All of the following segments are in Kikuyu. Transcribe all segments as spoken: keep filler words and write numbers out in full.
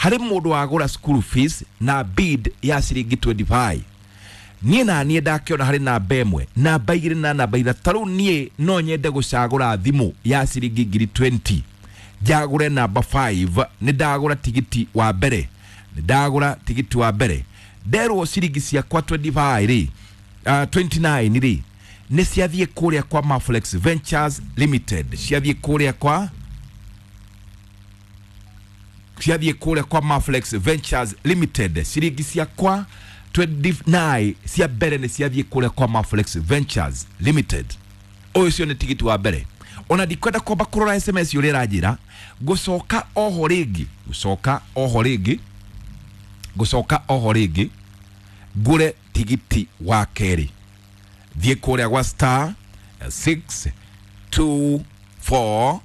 Harĩ mũndũ wagũra school fees na bid ya ciringi mĩrongo ĩrĩ na ithano. Niĩ na niĩ ndakĩona harĩ namba ĩmwe, namba igĩrĩ na namba ithatũ. Tarĩu niĩ no nyende gũcagũra thimũ ya ciringi ngiri mĩrongo ĩrĩ, njagũre namba ithano. Nĩ ndagũra tigiti wa mbere, nĩ ndagũra tigiti wa mbere. Nderwo ciringi ciakwa mĩrongo ĩrĩ na ithano rĩ, uh, mĩrongo ĩrĩ na kenda rĩ, nĩ ciathiĩ kũrĩa kwa Maflex Ventures Limited, ciathiĩ kũrĩa kwa ciathiĩ kũrĩa kwa Maflex Ventures Limited. Ciringi ciakwa mĩrongo ĩrĩ na kenda cia mbere nĩ ciathiĩ kũrĩa kwa Maflex Ventures Limited. Ũyũ ũcio nĩ tigiti wa mbere. Ona ndikwenda kwamba kũrora S M S ũrĩa ĩranjĩra. Ngũcoka oho rĩngĩ, ngũcoka oho rĩngĩ, ngũcoka oho rĩngĩ ngũre tigiti wa kerĩ. Thiĩ kũrĩa gwa star six two four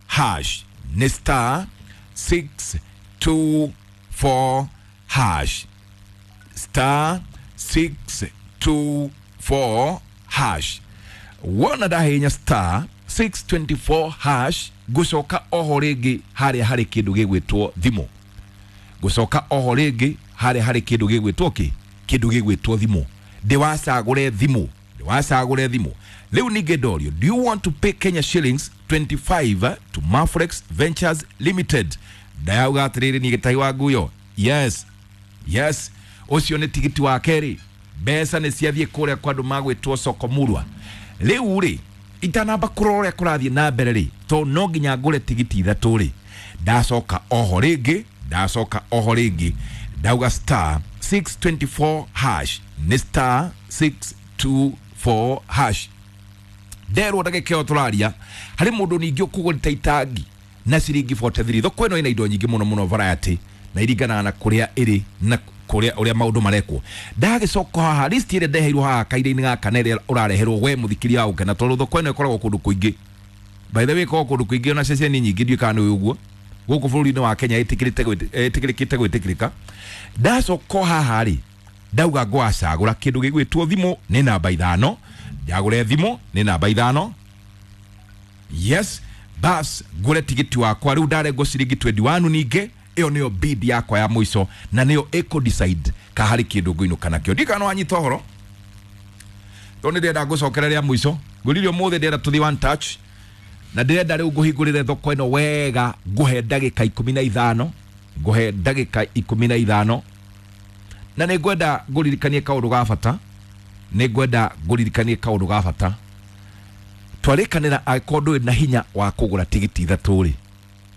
hash, nĩ star six two four hash, star six two four hash. Wona ndahihinya star six two four hash, ngũcoka oho rĩngĩ harĩa harĩ kĩndũ gĩgwĩtwo thimũ. Ngũcoka oho rĩngĩ harĩa harĩ kĩndũ gĩgwĩtwo kĩ kĩndũ gĩgwĩtwo thimũ. Ndĩwacagũre thimũ, ndĩwacagũre thimũ. Rĩu ningĩ ndorio, "Do you want to pay Kenya shillings twenty-five to Maflex Ventures Limited?" Ndayauga atĩrĩrĩ, niĩ gĩtahi wa nguyo, yes yes Ũcio nĩ tigiti wa kerĩ. Mbeca nĩ ciathiĩ kũrĩa kwa andũ magwĩtwo Sokomurwa. Rĩu rĩ, itanamba kũrora ũrĩa kũrathiĩ na mbere rĩ, to no nginya ngũre tigiti ithatũ rĩ, ndacoka oho rĩngĩ, ndacoka oho rĩngĩ, ndauga star six two four hash, nĩ star six two four hash. Nderwo ndagĩka ĩyo tũraria harĩ mũndũ ningĩ ũkũgũrĩte itangi na ciringi mĩrongo ĩna na ithatũ. Thoko ĩno ĩna indo nyingĩ mũno mũno, variety, na iringanaga na kũrĩa ĩrĩ na kũrĩa ũrĩa maũndũ marekwo. Ndagĩcoka haha, list ĩrĩa ndeheirwo haha kaira-inĩ gaka na ĩrĩa ũrareherwo we mũthikĩria wa gũkena, tondũ thoko ĩno ĩkoragwo kũndũ kũingĩ. By the way, ĩkoragwo kũndũ kũingĩ ona ceceni nyingĩ. Ndiũĩ kana nĩ ũguo gũkũ bũrũri-inĩ wa Kenya ĩtĩkĩrĩte gwĩtĩ- ĩtĩkĩrĩkĩte gwĩtĩkĩrĩka. Ndacoka haha rĩ, ndauga ngwacagũra kĩndũ gĩgwĩtwo thimũ, nĩ namba ithano. Njagũre thimũ, nĩ namba ithano. Yes, bas, ngũre tigiti wakwa. Rĩu ndarengwo ciringi mĩrongo ĩrĩ na ĩmwe. Ningĩ ĩyo nĩyo bid yakwa ya mũico na nĩyo ĩkũ decide ka harĩ kĩndũ ngũinũka nakĩo. Ndikana wanyita ũhoro, tondũ nĩ ndĩrenda ngũcokera rĩa mũico. Ngũririe ũmũthĩ ndĩrenda tũthiĩ one touch, na ndĩrenda rĩu ngũhingũrĩre thoko ĩno wega. Ngũhe ndagĩka ikũmi na ithano, ngũhe ndagĩka ikũmi na ithano, na nĩ ngwenda ngũririkanie kaũndũ ga bata, nĩ ngwenda ngũririkanie kaũndũ ga bata. Twarĩkanĩra, angĩkorwo ndũrĩ na hinya wa kũgũra tigiti ithatũ rĩ,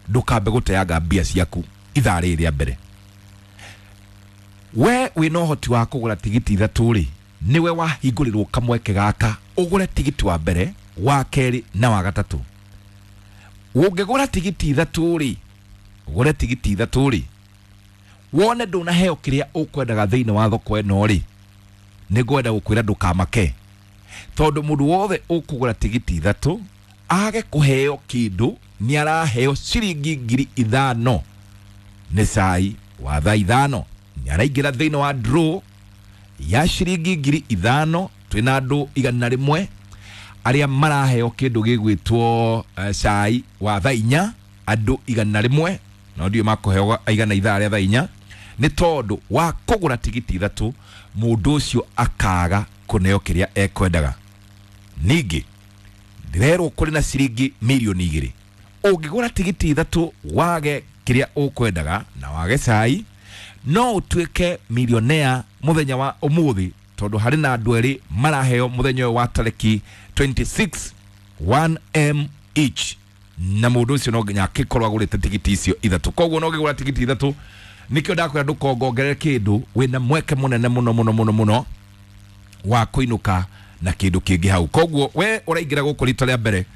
ndũkambe gũteanga mbia ciaku ithaa rĩrĩ rĩa mbere. We wĩna ũhoti wa kũgũra tigiti ithatũ rĩ, nĩwe wahingũrĩrwo kamweke gaka ũgũre tigiti wa mbere, wa kerĩ na wa gatatũ. Ũngĩgũra tigiti ithatũ rĩ, ũgũre tigiti ithatũ rĩ, wone ndũnaheo kĩrĩa ũkwendaga thĩinĩ wa thoko ĩno rĩ, nĩ ngwenda gũkwĩra ndũkamake, tondũ mũndũ wothe ũkũgũra tigiti ithatũ age kũheo kĩndũ nĩ araheo ciringi ngiri ithano. Nĩ cai wa thaa ithano, nĩ araingĩra thĩinĩ wa draw ya ciringi ngiri ithano. Twĩna andũ igana rĩmwe arĩa maraheo kĩndũ gĩgwĩtwo uh, cai wa thaa inya, andũ igana rĩmwe, no ndiũ makũheo igana ithaa rĩa thaa inya, nĩ tondũ wa kũgũra tigiti ithatũ mũndũ ũcio akaga kũneo kĩrĩa ekwendaga. Ningĩ ndĩrerwo kũrĩ na ciringi mirioni igĩrĩ. Ũngĩgũra tigiti ithatũ wage kĩrĩa ũkwendaga na wage cai, no ũtuĩke milionea mũthenya wa ũmũthĩ, tondũ harĩ na andũ erĩ maraheo mũthenya ũyũ wa tarĩki mĩrongo ĩrĩ na ithathatũ one M each, na mũndũ ũcio no nginya akĩkorwo agũrĩte tigiti icio ithatũ. Koguo no ũngĩgũra tigiti ithatũ, nĩkĩo ndakwĩra ndũkongongerere kĩndũ, wĩna mweke mũnene mũno mũno mũno mũno wa kũinũka na kĩndũ kĩngĩ hau. Koguo we ũraingĩra gũkũ rita rĩa mbere,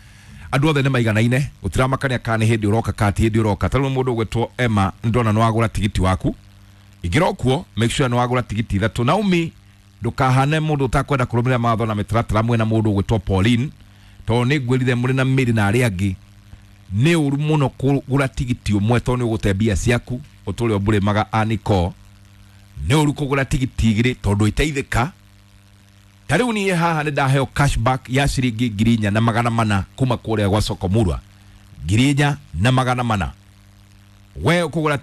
andũ othe nĩ maiganaine, gũtiramakania kana nĩ hĩndĩ ũroka kana ti hĩndĩ ũroka. Ta rĩu mũndũ ũgwĩtwo Emma, ndona nĩ wagũra tigiti waku. Ingĩra okuo, make sure nĩ wagũra tigiti ithatũ. Naomi, ndũkahane mũndũ ũtakwenda kũrũmĩrĩra mawatho na mĩtaratara mwena mũndũ ũgwĩtwo Pauline, tondũ nĩ ngwĩrire mũrĩ na mĩrĩ na arĩa angĩ nĩ ũru mũno kũgũra tigiti ũmwe, tondũ nĩ ũgũte mbia ciaku ũtũre ũmbũrĩmaga aniko. Nĩ ũru kũgũra tigiti igĩrĩ tondũ iteithĩka. Ta rĩu niĩ haha nĩ ndaheo cashback ya ciringi ngiri inya na magana mana kuma kũrĩa gwa Sokomurwa, ngiri inya na magana mana. We ũkũgũra.